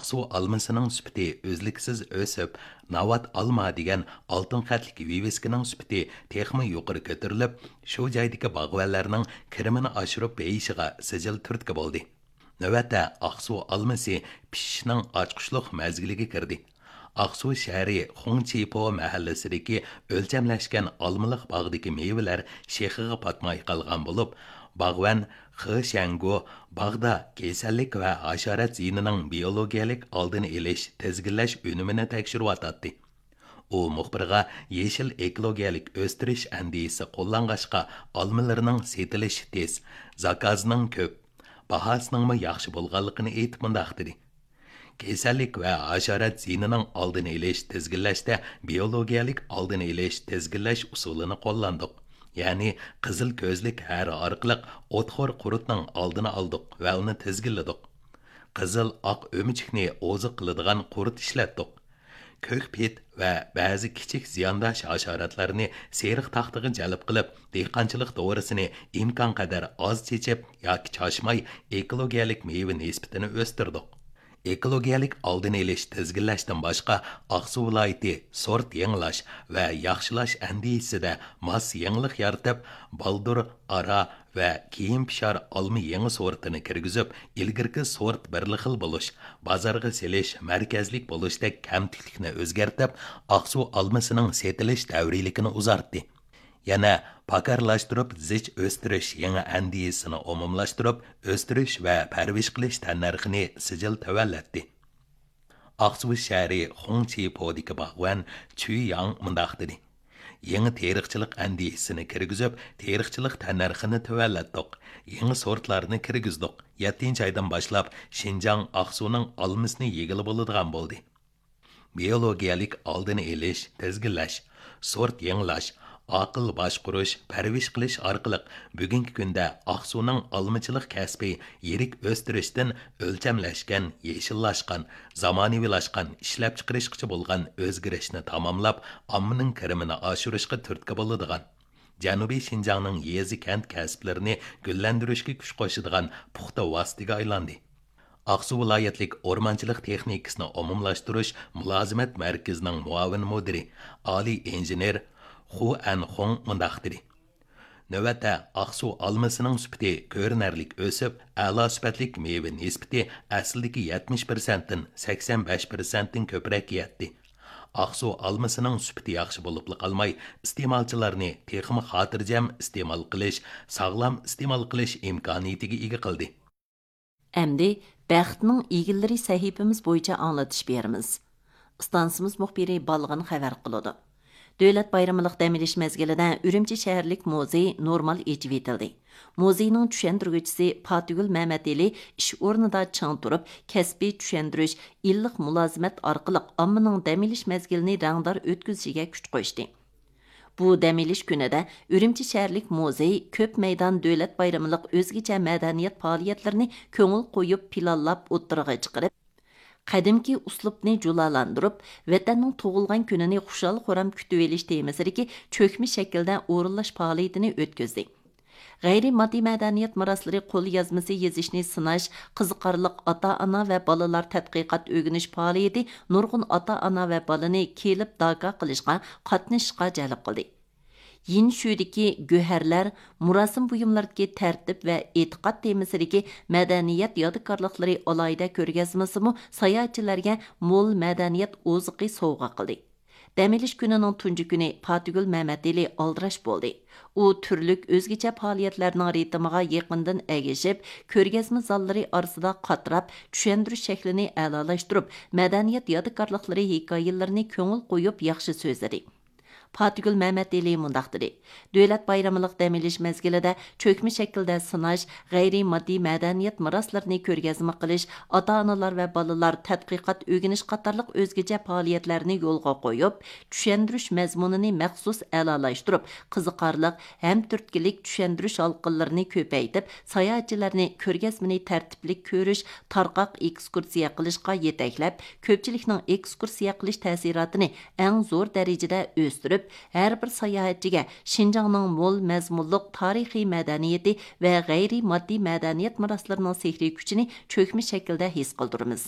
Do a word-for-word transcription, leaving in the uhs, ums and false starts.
ئاقسۇ ئالمىسىنىڭ سۈپىتى ئۈزلۈكسىز ئۆسۈپ، ناۋات ئالما دېگەن ئالتۇن خەتلىك ۋىۋىسكىنىڭ سۈپىتى تېخىمۇ يۇقىرى كۆتۈرۈلۈپ، شۇ جايدىكى باغۋەنلەرنىڭ كىرىمىنى ئاشۇرۇپ بېيىشىغا سىجىل تۈرتكە بولدى. نۆۋەتتە ئاقسۇ ئالمىسى پىشىشنىڭ ئاچقۇچلۇق مەزگىلىگە كىردى. ئاقسۇ شەھىرى خۇڭچىپو مەھەللىسىدىكى ئۆلچەملەشكەن ئالمىلىق باغدىكى مېۋىلەر شېخىغا پاتماي قالغان بولۇپ، باغۋەن خې شيەنگو باغدا كېسەللىك ۋە ھاشارات زىيىنىنىڭ بىيولوگىيەلىك ئالدىنى ئېلىش، تىزگىنلەش ئۈنۈمىنى تەكشۈرۈۋاتاتتى. ئۇ مۇخبىرغا يېشىل ئېكولوگىيەلىك ئۆستۈرۈش ئەندىزىسى قوللانغاچقا، ئالمىلىرىنىڭ سېتىلىشى تېز، زاكازنىڭ كۆپ، باھاسىنىڭمۇ ياخشى بولغانلىقىنى ئېيتىپ مۇنداق دېدى: كېسەللىك ۋە ھاشارات زىيىنىنىڭ ئالدىنى ئېلىش، تىزگىنلەشتە بىيولوگىيەلىك ئالدىنى ئېلىش، تىزگىنلەش ئۇسۇلىنى قوللاندۇق. يەنى قىزىل كۆزلۈك ھەرە ئارقىلىق ئوتخور قۇرتنىڭ ئالدىنى ئالدۇق ۋە ئۇنى تىزگىنلىدۇق. قىزىل ئاق ئۆمۈچۈكنى ئوزۇق قىلىدىغان قۇرت ئىشلەتتۇق. كۆك پىت ۋە بەزى كىچىك زىيانداش ھاشاراتلارنى سېرىق تاختىغا جەلپ قىلىپ، دېھقانچىلىق دورىسىنى ئىمكانقەدەر ئاز چېچىپ ياكى چاچماي، ئېكولوگىيەلىك مېۋە نىسبىتىنى ئۆستۈردۇق. ئېكولوگىيەلىك ئالدىنى ئېلىش، تىزگىنلەشتىن باشقا، ئاقسۇ ۋىلايىتى سورت يېڭىلاش ۋە ياخشىلاش ئەندىزىسىدە ماس يېڭىلىق يارىتىپ، بالدۇر، ئارا ۋە كېيىن پىشار ئالما يېڭى سورتىنى كىرگۈزۈپ، ئىلگىرىكى سورت بىرلا خىل بولۇش، بازارغا سېلىش مەركەزلىك بولۇشتەك كەمتۈكلۈكنى ئۆزگەرتىپ، ئاقسۇ ئالمىسىنىڭ سېتىلىش دەۋرىيلىكىنى ئۇزارتتى. يەنە پاكارلاشتۇرۇپ زىچ ئۆستۈرۈش يېڭى ئەندىزىسىنى ئومۇملاشتۇرۇپ، ئۆستۈرۈش ۋە پەرۋىش قىلىش تەننەرخىنى سىجىل تۆۋەنلەتتى. ئاقسۇ شەھىرى خۇڭچىپودىكى باغۋەن چۈ ياڭ مۇنداق دېدى: يېڭى تېرىقچىلىق ئەندىزىسىنى كىرگۈزۈپ، تېرىقچىلىق تەننەرخىنى تۆۋەنلەتتۇق. يېڭى سورتلارنى كىرگۈزدۇق. يەتتىنچى ئايدىن باشلاپ، شىنجاڭ ئاقسۇنىڭ ئالمىسىنى يېگىلى بولىدىغان بولدى. بىيولوگىيەلىك ئالدىنى ئېلىش، تىزگىنلەش، سورت يېڭىلاش، ئاقىل باشقۇرۇش، پەرۋىش قىلىش ئارقىلىق بۈگۈنكى كۈندە ئاقسۇنىڭ ئالمىچىلىق كەسپى يىرىك ئۆستۈرۈشتىن ئۆلچەملەشكەن، يېشىللاشقان، زامانىۋىلاشقان ئىشلەپچىقىرىشقىچە بولغان ئۆزگىرىشنى تاماملاپ، ئاممىنىڭ كىرىمىنى ئاشۇرۇشقا تۈرتكە بولىدىغان، جەنۇبىي شىنجاڭنىڭ يېزا، كەنت كەسىپلىرىنى گۈللەندۈرۈشكە كۈچ قوشىدىغان پۇختا ۋاسىتىگە ئايلاندى. ئاقسۇ ۋىلايەتلىك ئورمانچىلىق تېخنىكىسىنى ئومۇملاشتۇرۇش مۇلازىمەت مەركىزىنىڭ مۇئاۋىن مۇدىرى، ئالىي ئىنژېنېر خۇ ئەنخۇڭ مۇنداق دېدى: نۆۋەتتە ئاقسۇ ئالمىسىنىڭ سۈپىتى كۆرۈنەرلىك ئۆسۈپ، ئەلا سۈپەتلىك مېۋە نىسبىتى ئەسلىدىكى يەتمىش پىرسەنتتىن سەكسەن بەش پىرسەنتتىن كۆپرەككە يەتتى. ئاقسۇ ئالمىسىنىڭ سۈپىتى ياخشى بولۇپلا قالماي، ئىستېمالچىلارنى تېخىمۇ خاتىرجەم ئىستېمال قىلىش، ساغلام ئىستېمال قىلىش ئىمكانىيىتىگە ئىگە قىلدى. ئەمدى بەختنىڭ ئىگىلىرى سەھىپىمىز بويىچە ئاڭلىتىش بېرىمىز. ئىستانسىمىز مۇخبىرى بالغىن خەۋەر قىلىدۇ. دۆلەت بايرىمىلىق دەم ئېلىش مەزگىلىدە ئۈرۈمچى شەھەرلىك مۇزېي نورمال ئېچىۋېتىلدى. مۇزېينىڭ چۈشەندۈرگۈچىسى پاتىگۈل مەمەتئېلى ئىش ئورنىدا چىڭ تۇرۇپ، كەسپىي چۈشەندۈرۈش، ئىللىق مۇلازىمەت ئارقىلىق ئاممىنىڭ دەم ئېلىش مەزگىلىنى رەڭدار ئۆتكۈزۈشىگە كۈچ قوشتى. بۇ دەم ئېلىش كۈنىدە ئۈرۈمچى شەھەرلىك مۇزېي كۆپ مەيدان دۆلەت بايرىملىق ئۆزگىچە مەدەنىيەت پائالىيەتلىرىنى كۆڭۈل قويۇپ پىلانلاپ ئوتتۇرىغا چىقىرىپ، قەدىمكى ئۇسلۇبنى جۇلالاندۇرۇپ، ۋەتەننىڭ تۇغۇلغان كۈنىنى خۇشال-خۇرام كۈتۈۋېلىش تېمىسىدىكى چۆكمە شەكىلدە ئورۇنلاش پائالىيىتىنى ئۆتكۈزدى. غەيرىي ماددىي مەدەنىيەت مىراسلىرى قوليازمىسى يېزىشنى سىناش، قىزىقارلىق ئاتا-ئانا ۋە بالىلار تەتقىقات ئۆگىنىش پائالىيىتى نۇرغۇن ئاتا-ئانا ۋە بالىنى كېلىپ داكا قىلىشقا، قاتنىشىشقا جەلپ قىلدى. يىنشۇدىكى گۆھەرلەر، مۇراسىم بۇيۇملىرىدىكى تەرتىپ ۋە ئېتىقاد تېمىسىدىكى مەدەنىيەت يادىكارلىقلىرى ئالاھىدە كۆرگەزمىسىمۇ ساياھەتچىلەرگە مول مەدەنىيەت ئوزۇقى سوۋغا قىلدى. دەم ئېلىش كۈنىنىڭ تۇنجى كۈنى پاتىگۈل مەمەتئېلى ئالدىراش بولدى. ئۇ تۈرلۈك ئۆزگىچە پائالىيەتلەرنىڭ رىتىمىغا يېقىندىن ئەگىشىپ، كۆرگەزمە زاللىرى ئارىسىدا قاتراپ، چۈشەندۈرۈش شەكلىنى ئەلالاشتۇرۇپ، مەدەنىيەت يادىكارلىقلىرى ھېكايىلىرىنى كۆڭۈل قويۇپ ياخشى سۆزلىدى. پاتىگۈل مەمەتئېلى مۇنداق دېدى: دۆلەت بايرىمىلىق دەم ئېلىش مەزگىلىدە چۆكمە شەكىلدە سىناش، غەيرىي ماددىي مەدەنىيەت مىراسلىرىنى كۆرگەزمە قىلىش، ئاتا-ئانىلار ۋە بالىلار تەتقىقات ئۆگىنىش قاتارلىق ئۆزگىچە پائالىيەتلەرنى يولغا قويۇپ، چۈشەندۈرۈش مەزمۇنىنى مەخسۇس ئەلالاشتۇرۇپ، قىزىقارلىق ھەم تۈرتكىلىك چۈشەندۈرۈش ھالقىلىرىنى كۆپەيتىپ، ساياھەتچىلەرنى كۆرگەزمىنى تەرتىپلىك كۆرۈش، تارقاق ئېكسكۇرسىيە قىلىشقا يېتەكلەپ، كۆپچىلىكنىڭ ئېكسكۇرسىيە قىلىش تەسىراتىنى ئەڭ زور دەرىجىدە ئۆستۈرۈپ، ھەر بىر ساياھەتچىگە شىنجاڭنىڭ مول مەزمۇنلۇق تارىخىي مەدەنىيىتى ۋە غەيرىي ماددىي مەدەنىيەت مىراسلىرىنىڭ سېھرىي كۈچىنى چۆكمە شەكىلدە ھېس قىلدۇرىمىز.